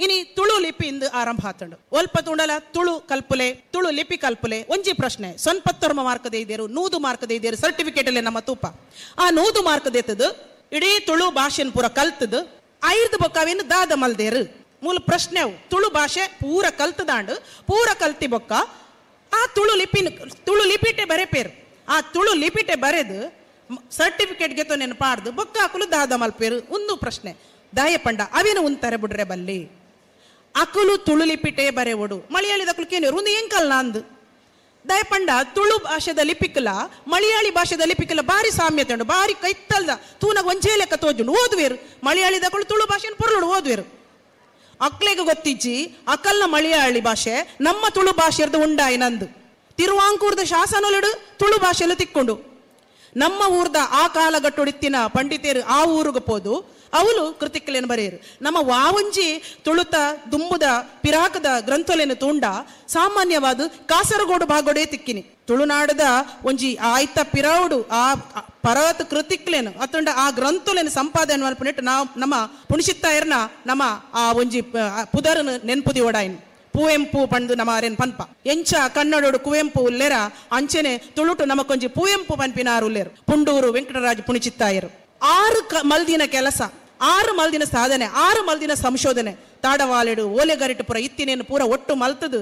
ಇನಿ ತುಳು ಲಿಪಿ ಇಂದು ಆರಂಭ ಆತಂಡು ಒಲ್ಪ ತುಂಡಲ ತುಳು ಕಲ್ಪುಲೆ, ತುಳು ಲಿಪಿ ಕಲ್ಪುಲೆ. ಒಂಜಿ ಪ್ರಶ್ನೆ, 99 ಮಾರ್ಕ್ ದೇದೇರು, 100 ಮಾರ್ಕ್ ದೇದೇರು ಸರ್ಟಿಫಿಕೇಟ್ ಅಲ್ಲಿ ನಮ್ಮ ತೂಪ. ಆ 100 ಮಾರ್ಕ್ ದೇತದು ಇಡೀ ತುಳು ಭಾಷೆನ್ ಪೂರ ಕಲ್ತದು ಐರ್ದು ಬೊಕ್ಕವೇನು ದಾದ ಮಲ್ದೇರು ಮೂಲ ಪ್ರಶ್ನೆ. ಅವು ತುಳು ಭಾಷೆ ಪೂರ ಕಲ್ತದಾಂಡು, ಪೂರ ಕಲ್ತಿ ಬೊಕ್ಕ ಆ ತುಳು ಲಿಪಿನ ತುಳು ಲಿಪಿಟೆ ಬರೆಪೇರು. ಆ ತುಳು ಲಿಪಿಟೆ ಬರೆದು ಸರ್ಟಿಫಿಕೇಟ್ಗೆ ತೊನೆನು ಪಾಡ್ದು ಬೊಕ್ಕ ಅಕುಲು ದಾದ ಮಲ್ಪೇರು ಒಂದು ಪ್ರಶ್ನೆ. ದಾಯ ಪಂಡ ಅವೇನು ಉಂತಾರೆ ಬುಡ್ರೆ ಬಲ್ಲಿ ಅಕುಲು ತುಳು ಲಿಪಿಟೆ ಬರೆವಡು ಮಲಯಾಳಿದ ಅಕುಲು ಕೇನೇರು ಒಂದು ಎಂಕಲ್ ನಾಂದು. ದಯಪಂಡ ತುಳು ಭಾಷೆದ ಲಿಪಿಕಲ ಮಲಯಾಳಿ ಭಾಷೆದ ಲಿಪಿಕಲ ಬಾರಿ ಸಾಮ್ಯತೆ ಉಂಡು, ಬಾರಿ ಕೈತ್ತಲ್ದ ತೂನಾಗ ಒಂಜೇ ಲೆಕ್ಕ ತೋಜುಂಡು ಓದುವೇರು. ಮಲಯಾಳಿದಕುಲು ತುಳು ಭಾಷೆಯನ್ನು ಪೊರ್ಲುಡು ಓದುವೇರು. ಅಕ್ಲೆಗೆ ಗೊತ್ತಿಜ್ಜಿ ಅಕಲ್ನ ಮಲಯಾಳಿ ಭಾಷೆ ನಮ್ಮ ತುಳು ಭಾಷೆರ್ದು ಉಂಡಾಯಿ ನಂದು. ತಿರುವಾಂಕೂರ್ದ ಶಾಸನೊಲಿಡು ತುಳು ಭಾಷೆಯಲ್ಲೂ ತಿಕ್ಕೊಂಡು ನಮ್ಮ ಊರ್ದ ಆ ಕಾಲಗಟ್ಟೊಡಿತ್ತಿನ ಪಂಡಿತೇರು ಆ ಊರಿಗೆ ಪೋದು ಅವಳು ಕೃತಿಕಲೇನು ಬರೆಯರು. ನಮ್ಮ ವಾವಂಜಿ ತುಳುತ ದುಂಬುದ ಪಿರಾಕದ ಗ್ರಂಥಲೇನು ತೂಂಡ ಸಾಮಾನ್ಯವಾದ ಕಾಸರಗೋಡು ಭಾಗೋಡೆ ತಿಕ್ಕಿನಿ. ತುಳುನಾಡದ ಒಂಜಿ ಆಯ್ತ ಪಿರಾವುಡು ಆ ಪರವತ ಕೃತಿಕ್ಲೇನು ಅತುಂಡ ಆ ಗ್ರಂಥಲೇನು ಸಂಪಾದನೆ ಮಲ್ಪನಿಟ್ಟು ನಾವು ನಮ್ಮ ಪುಣಿಸಿತ್ತಾಯರ್ನ ನಮ್ಮ ಆ ಒಂಜಿ ಪುದರನು ನೆನ್ಪುದಿ ಓಡಾಯಿನ ಪುವೆಂಪು ಪಂಡು ನಮ್ಮ ಅರೇನ್ ಪನ್ಪ. ಎಂಚ ಕನ್ನಡೋಡು ಕುವೆಂಪು ಉಲ್ಲೇರ ಅಂಚೆನೆ ತುಳುಟು ನಮಕೊಂಜಿ ಪುವೆಂಪು ಪನ್ಪಿನಾರು ಉಲ್ಲೇರು ಪುಂಡೂರು ವೆಂಕಟರಾಜ್ ಪುಣಿಚಿತ್ತಾಯರು. 6 ಮಲ್ದಿನ ಕೆಲಸ, 6 ಮಲ್ದಿನ ಸಾಧನೆ, 6 ಮಲ್ದಿನ ಸಂಶೋಧನೆ ತಾಡವಾಲೆಡು ಓಲೆಗರಿಟು ಪೂರ ಇತ್ತಿನೇನು ಪೂರ ಒಟ್ಟು ಮಲ್ತದು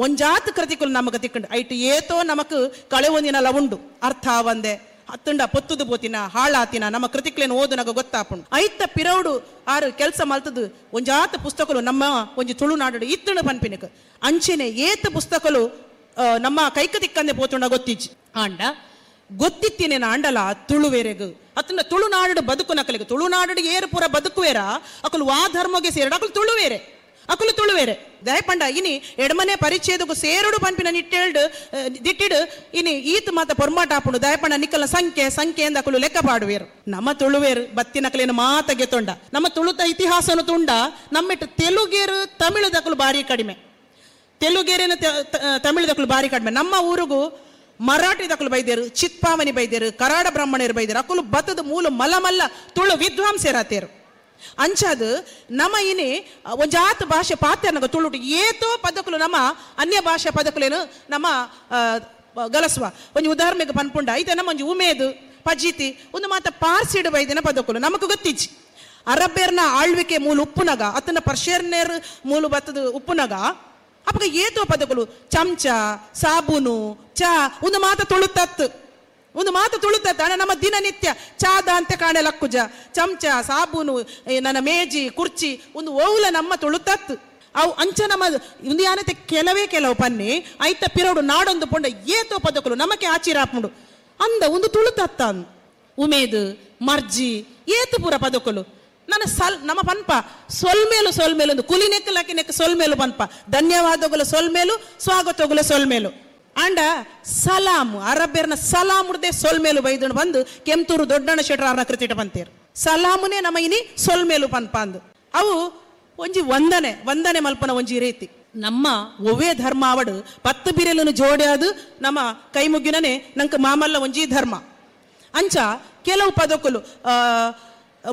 ಒಂಜಾತ್ ಕೃತಿಕುಲು ನಮಗ ತಿಕ್ಕಂಡು ಐಟು ಏತೋ ನಮಕ್ ಕಳೆ ಒಂದಿನ ಲವುಂಡು ಅರ್ಥ ಆವಂದೆ ಅತ್ತುಂಡ ಪೊತ್ತುದು ಪೋತಿನ ಹಾಳಾತಿನ ನಮ್ಮ ಕೃತಿಕ್ಲೇನು ಓದುನಾಗ ಗೊತ್ತಾಪುಂಡು. ಐತ ಪಿರೌಡು 6 ಕೆಲಸ ಮಲ್ತದು ಒಂಜಾತ ಪುಸ್ತಕಲು ನಮ್ಮ ಒಂಜಿ ತುಳುನಾಡು ಇತ್ತುಂಡು ಪನ್ಪಿನಕ್ ಅಂಚೆನೆ ಏತ ಪುಸ್ತಕಲು ನಮ್ಮ ಕೈಕ ತಿಕ್ಕಂದೆ ಪೋತುಂಡ ಗೊತ್ತಿಜ್ಜಿ. ಆಂಡ ಗೊತ್ತಿತ್ತಿನೇನ ಆಂಡಲ ತುಳುವೇರೆಗು ಅತ್ತುಂಡ ತುಳುನಾಡು ಬದುಕು ನಕಲಿಗೆ ತುಳುನಾಡು ಏರು ಪೂರ ಬದುಕುವೇರ ಅಕುಲು ವಾ ಧರ್ಮಗೆ ಸೇರಡು ಅಕುಲು ತುಳುವೇರೆ ಅಕುಲು ತುಳುವೇರೆ. ದಯಪಂಡ ಇನಿ ಎಡಮನೆ ಪರಿಚ್ಛೇದಕ್ಕೂ ಸೇರುಡು ಪನ್ಪಿನ ನಿಟ್ಟೇಳ್ಡು ದಿಟ್ಟಿಡು ಇನಿ ಈತ ಮಾತ ಪೊರ್ಮಾಟ ಆಪುಂಡು. ದಯಪಂಡ ನಿಕ್ಕಲ ಸಂಖ್ಯೆ ಸಂಖ್ಯೆ ಎಂದ ಅಕುಲು ಲೆಕ್ಕ ಪಾಡುವೇರು. ನಮ್ಮ ತುಳುವೇರು ಬತ್ತಿನಕಲೇನು ಮಾತ ಗೆತೊಂಡ ನಮ್ಮ ತುಳುತ ಇತಿಹಾಸನು ತುಂಡ ನಮ್ಮಿಟ್ಟು ತೆಲುಗೇರು ತಮಿಳುದಕಲು ಬಾರಿ ಕಡಿಮೆ, ತೆಲುಗೇರಿನ ತಮಿಳುದಕಲು ಬಾರಿ ಕಡಿಮೆ. ನಮ್ಮ ಊರಿಗೂ ಮರಾಠಿ ದಕಲು ಬೈದೇರು, ಚಿತ್ಪಾವನಿ ಬೈದೇರು, ಕರಾಡ ಬ್ರಾಹ್ಮಣರು ಬೈದೇರು ಅಕುಲು ಬತ್ತದ ಮೂಲ ಮಲಮಲ್ಲ ತುಳು ವಿದ್ವಾಂಸರಾತೇರು. ಅಂಚಾದು ನಮ್ಮ ಇನಿ ಒಂಜಾತ ಭಾಷೆ ಪಾತ್ರನಗ ತುಳುಟು ಏತೋ ಪದಕಲು ನಮ್ಮ ಅನ್ಯ ಭಾಷೆ ಪದಕಲೇನು ನಮ್ಮ ಗಲಸುವ. ಒಂಜಿ ಉದಾಹರಣೆಗೆ ಪನ್ಪುಂಡ ಐತೆ ನಮ್ಮ ಒಂಜಿ ಉಮೇದು ಪಜಿತಿ ಒಂದು ಮಾತ ಪಾರ್ಸಿಡು ಬೈದಿನ ಪದಕಲು ನಮಕ್ ಗೊತ್ತಿಜ್ಜಿ. ಅರಬ್ಬೇರ್ನ ಆಳ್ವಿಕೆ ಮೂಲ ಉಪ್ಪುನಗ ಅತನ ಪರ್ಷಿಯರ್ನೇರ್ ಮೂಲ ಬತ್ತದ ಉಪ್ಪುನಗ ಅಪ್ಪಗ ಏತೋ ಪದಕಲು ಚಮಚ ಸಾಬೂನು ಚಾ ಒಂದು ಮಾತ ತುಳುತತ್ತು ಒಂದು ಮಾತು ತುಳುತತ್ತ. ಅಣ್ಣ ನಮ್ಮ ದಿನನಿತ್ಯ ಚಾದ ಅಂತ ಕಾಣೆ ಲಕ್ಕುಜ ಚಮಚ ಸಾಬೂನು ನನ್ನ ಮೇಜಿ ಕುರ್ಚಿ ಒಂದು ಓವುಲ ನಮ್ಮ ತುಳುತತ್ತು. ಅವು ಅಂಚ ನಮ್ಮ ಒಂದು ಯಾನತೆ ಕೆಲವೇ ಕೆಲವು ಪನ್ನಿ ಐತ ಪಿರೋಡು ನಾಡೊಂದು ಪೊಂಡ ಏತೋ ಪದಕಲು ನಮಕೆ ಆಚಿರಾಪುಂಡು ಅಂದ ಒಂದು ತುಳುತತ್ತ ಉಮೇದು ಮರ್ಜಿ ಏತು ಪೂರ ಪದಕಲು ನನ್ನ ಸಲ್ ನಮ್ಮ ಪನ್ಪ ಸೊಲ್ಮೇಲು ಸೊಲ್ಮೇಲು ಒಂದು ಕುಲಿ ನೆಕ್ಕಲಾಕಿ ನೆಕ್ಕ ಸೊಲ್ಮೇಲು ಪನ್ಪ ಧನ್ಯವಾದಗಳು ಸೊಲ್ಮೇಲು ಸ್ವಾಗತಗಳು ಸೊಲ್ಮೇಲು. ಅಂಡ ಸಲಾಮ್ ಅರಬ್ಬೇರ್ನ ಸಲಾಮ್ ಉಡ್ದೆ ಸೊಲ್ಮೇಲು ಬೈದನು ಬಂದು ಕೆಂತೂರು ದೊಡ್ಡಣ್ಣ ಶೆಟ್ರಾರ್ನ ಕೃತಿಟ ಪಂತೇರು ಸಲಾಮುನೇ ನಮ್ಮ ಇನಿ ಸೊಲ್ಮೇಲು ಪನ್ಪ ಅಂದು. ಅವು ಒಂಜಿ ವಂದನೆ ವಂದನೆ ಮಲ್ಪನ ಒಂಜಿ ರೀತಿ. ನಮ್ಮ ಒವ್ವೇ ಧರ್ಮ ಅವಡು 10 ಬಿರೆಲನ್ನು ಜೋಡ್ಯಾದು ನಮ್ಮ ಕೈ ಮುಗಿನನೆ ನಂಗೆ ಮಾಮಲ್ಲ ಒಂಜಿ ಧರ್ಮ. ಅಂಚ ಕೆಲವು ಪದಕಲು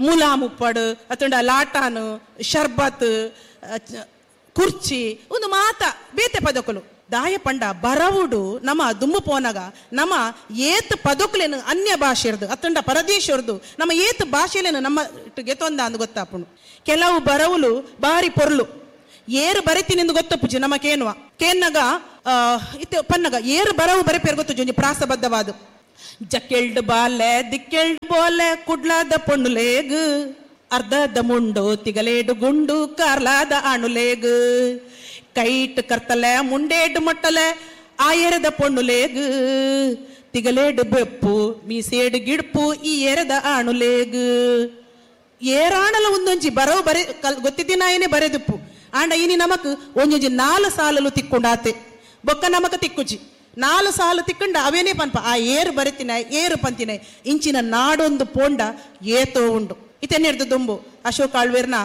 ಮುಲಾಮುಪ್ಪಡು ಅತಂಡ ಲಾಟಾನು ಶರ್ಬತ್ ಕುರ್ಚಿ ಒಂದು ಮಾತ ಬೇತೆ ಪದಕಲು. ದಾಯ ಪಂಡ ಬರವುಡು ನಮ್ಮ ದುಂಬು ಪೋನಗ ನಮ್ಮ ಏತ್ ಪದಕುಲೇನು ಅನ್ಯ ಭಾಷೆರ್ದು ಅತ್ತಂಡ ಪರದೇಶರ್ದು ನಮ್ಮ ಏತ್ ಭಾಷೆಲೇನು ನಮ್ಮ ಗೆತೊಂದ ಅಂದು ಗೊತ್ತಾಪುಂಡು. ಕೆಲವು ಬರವುಲು ಬಾರಿ ಪೊರ್ಲು ಏರು ಬರೆತಿನಿಂದು ಗೊತ್ತಪ್ಪುಜಿ ನಮ್ಮ ಕೇನುವ ಕೇನ್ನಗ ಇತ್ತೆ ಪನ್ನಗ ಏರು ಬರವು ಬರೆಪೇರು ಗೊತ್ತುಜಿ ಒಂಜಿ ಪ್ರಾಸಬದ್ಧವಾದ ಜಕ್ಕೆಲ್ಡ್ ಬಾಲೆ ದಿಕ್ಕೆಲ್ಡ್ ಬೋಲೆ ಕುಡ್ಲಾದ ಪೊಣ್ಣುಲೇಗ್ ಅರ್ಧದ ಮುಂಡು ತಿಗಲೇಡು ಗುಂಡು ಕಾರ್ಲಾದ ಅಣುಲೇಗ್ ಕೈಟ್ ಕರ್ತಲೆ ಮುಂಡೇಡು ಮೊಟ್ಟಲೆ ಆಯರದ ಪೊಣ್ಣುಲೇಗ್ ತಿಗಲೇಡು ಬೆಪ್ಪು ಮೀಸೇಡು ಗಿಡ್ಪು ಈ ಎರದ ಅಣುಲೇಗ್. ಏರಾಣಲ ಒಂದೊಂಜಿ ಬರವು ಬರೆ ಗೊತ್ತಿದ್ದಿನಾಯನೇ ಬರೆದುಪ್ಪು ಆಂಡ ಇನಿ ನಮಕ್ ಒಂಜೊಂಜಿ 4 ಸಾಲಲು ತಿಕ್ಕೊಂಡಾತೆ ಬೊಕ್ಕ ನಮಕ ತಿಕ್ಕುಜಿ 4 ಸಾಲು ತಿಕ್ಕಂಡ ಅವೇನೇ ಪನ್ಪ ಆ ಏರು ಬರೆತಿನ ಏರು ಪಂತಿನ ಇಂಚಿನ ನಾಡೊಂದು ಪೋಂಡ ಏತೋ ಉಂಡು. ಇತೆನ್ನೆರ್ದು ದುಂಬು ಅಶೋಕ್ ಆಳ್ವೇರ್ನ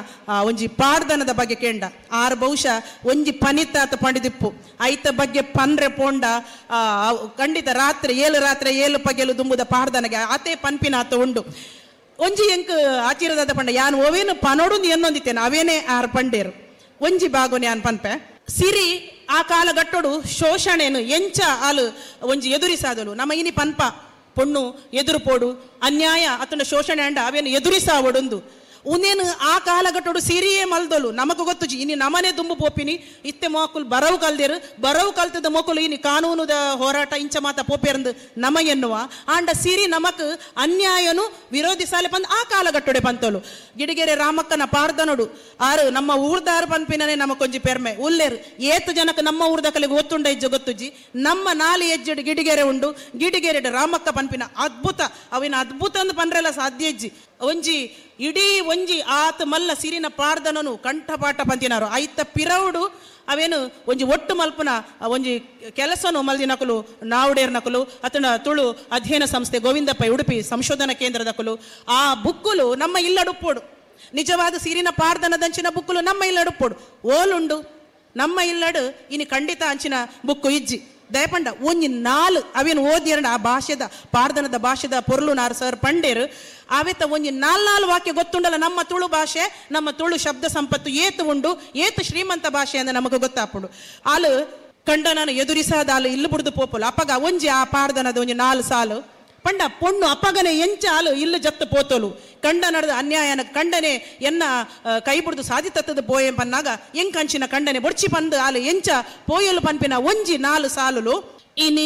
ಒಂಜಿ ಪಾಡ್ದನದ ಬಗ್ಗೆ ಕೇಂಡ ಆರು ಬಹುಶಃ ಒಂಜಿ ಪನಿತಾತ ಪಂಡಿದಿಪ್ಪು ಐತ ಬಗ್ಗೆ ಪನ್ರೆ ಪೋಂಡ ಖಂಡಿತ ರಾತ್ರಿ 7 ರಾತ್ರಿ 7 ಪಗೆಲು ದುಂಬುದ ಪಾಡ್ದನಗೆ ಆತೆ ಪನ್ಪಿನಾತ ಉಂಡು. ಒಂಜಿ ಎಂಕ್ ಆಚಿರದಾದ ಪಂಡ ಯಾನ್ ಓವೇನು ಪನೋಡು ಎನ್ನೊಂದಿತ್ತೇನೆ ಅವೇನೇ ಆರು ಪಂಡೇರು. ಒಂಜಿ ಬಾಗೊನೆ ಅನ್ ಪನ್ಪೆ. ಸಿರಿ ಆ ಕಾಲಘಟ್ಟೋಡು ಶೋಷಣೆನು ಎಂಚ ಆಲು ಒಂಜಿ ಎದುರಿಸಾದಳು. ನಮ್ಮ ಇನಿ ಪನ್ಪ ಪೊಣ್ಣು ಎದುರು ಪೋಡು, ಅನ್ಯಾಯ ಅತನ ಶೋಷಣೆ ಅಂಡ ಅವೇನು ಎದುರಿಸಾವೊಡೊಂದು. ಉನೇನು ಆ ಕಾಲಘಟ್ಟೋಡು ಸಿರಿಯೇ ಮಲ್ದೊಲು. ನಮಕ್ ಗೊತ್ತುಜಿ ಇನಿ ನಮನೆ ದುಂಬು ಪೋಪಿನಿ. ಇತ್ತೆ ಮೋಕುಲು ಬರವು ಕಲ್ದೇರು, ಬರವು ಕಲ್ತದ ಮೋಕುಲು ಇನಿ ಕಾನೂನುದ ಹೋರಾಟ ಇಂಚ ಮಾತ ಪೋಪೇರಂದು ನಮ ಎನ್ನುವ. ಆಂಡ ಸಿರಿ ನಮಕ್ ಅನ್ಯಾಯನು ವಿರೋಧಿಸಾಲೆ ಪಂದ್ ಆ ಕಾಲಘಟ್ಟೋಡೆ ಪಂತೋಲು. ಗಿಡಿಗೆರೆ ರಾಮಕ್ಕನ ಪಾರ್ದನೋಡು ಆರು ನಮ್ಮ ಊರ್ದಾರು ಪನ್ಪಿನನೆ ನಮಕೊಂಜಿ ಪೆರ್ಮೆ ಉಲ್ಲೇರು. ಏತು ಜನಕ್ಕೆ ನಮ್ಮ ಊರ್ದ ಕಲೆಗೆ ಒತ್ತುಂಡ ಇಜ್ಜ ಗೊತ್ತುಜ್ಜಿ. ನಮ್ಮ ನಾಲಿ ಎಜ್ಜೆಡು ಗಿಡಿಗೆರೆ ಉಂಡು, ಗಿಡಿಗೆರೆಡು ರಾಮಕ್ಕ ಪನ್ಪಿನ ಅದ್ಭುತ, ಅವಿನ ಅದ್ಭುತ ಅಂದ್ ಪನ್ರೆಲ್ಲ ಸಾಧ್ಯ ಇಜ್ಜಿ. ಒಂಜಿ ಇಡೀ ಒಂಜಿ ಆತ ಮಲ್ಲ ಸಿರಿನ ಪಾರ್ದನನು ಕಂಠಪಾಠ ಪಂತಿನಾರು. ಐತ ಪಿರವುಡು ಅವೇನು ಒಂಜಿ ಒಟ್ಟು ಮಲ್ಪುನ ಒಂಜಿ ಕೆಲಸನು ಮಲ್ದಿನಕುಲು ನಾವುಡೇರ್ನಕುಲು ಅತನ ತುಳು ಅಧ್ಯಯನ ಸಂಸ್ಥೆ ಗೋವಿಂದಪ್ಪ ಉಡುಪಿ ಸಂಶೋಧನಾ ಕೇಂದ್ರದಕುಲು. ಆ ಬುಕ್ಕುಲು ನಮ್ಮ ಇಲ್ಲಡುಪ್ಪೋಡು, ನಿಜವಾದ ಸಿರಿನ ಪಾರ್ದನದಂಚಿನ ಬುಕ್ಕುಲು ನಮ್ಮ ಇಲ್ಲಡುಪ್ಪೋಡು. ಓಲುಂಡು ನಮ್ಮ ಇಲ್ಲಡು ಇನಿ ಖಂಡಿತ ಅಂಚಿನ ಬುಕ್ಕು ಇಜ್ಜಿ. ದಯಪಂಡ ಒಂಜಿ ನಾಲ್ ಅವೇನು ಓದಿಯರಂಡ ಆ ಭಾಷೆದ ಪಾರ್ದನದ ಭಾಷೆದ ಪೊರ್ಲು ನಾರ್ ಸರ್ ಪಂಡೇರು. ಆವೆತ್ತ ಒಂಜಿ ನಾಲ್ ನಾಲ್ ವಾಕ್ಯ ಗೊತ್ತುಂಡಲ್ಲ ನಮ್ಮ ತುಳು ಭಾಷೆ, ನಮ್ಮ ತುಳು ಶಬ್ದ ಸಂಪತ್ತು ಏತು ಉಂಡು, ಏತು ಶ್ರೀಮಂತ ಭಾಷೆ ಅಂದ್ರೆ ನಮಗೆ ಗೊತ್ತಾಪುಂಡು. ಆಲು ಕಂಡನನ್ನು ಎದುರಿಸಾದ ಆಲು ಇಲ್ಲು ಬುಡ್ದು ಪೋಪುಲು. ಅಪಗ ಒಂಜಿ ಆ ಪಾರ್ದನದ ಒಂಜಿ ನಾಲ್ ಸಾಲು ಪಂಡ ಪೊಣ್ಣು ಅಪಗನೆ ಎಂಚ ಆಲು ಇಲ್ಲು ಜತ್ತು ಪೋತೋಲು. ಕಂಡ ನಡೆದ ಅನ್ಯಾಯನ ಕಂಡನೆ ಎನ್ನ ಕೈ ಬುಡ್ದು ಸಾಧಿತತ್ತದ ಪೋಯೆ ಪನ್ನಾಗ ಎಂಕಂಚಿನ ಕಂಡನೆ ಬೊಡ್ಚಿ ಪಂದು ಆಲು ಎಂಚ ಪೋಯಲು ಪನ್ಪಿನ ಒಂಜಿ ನಾಲು ಸಾಲುಲು ಇನಿ.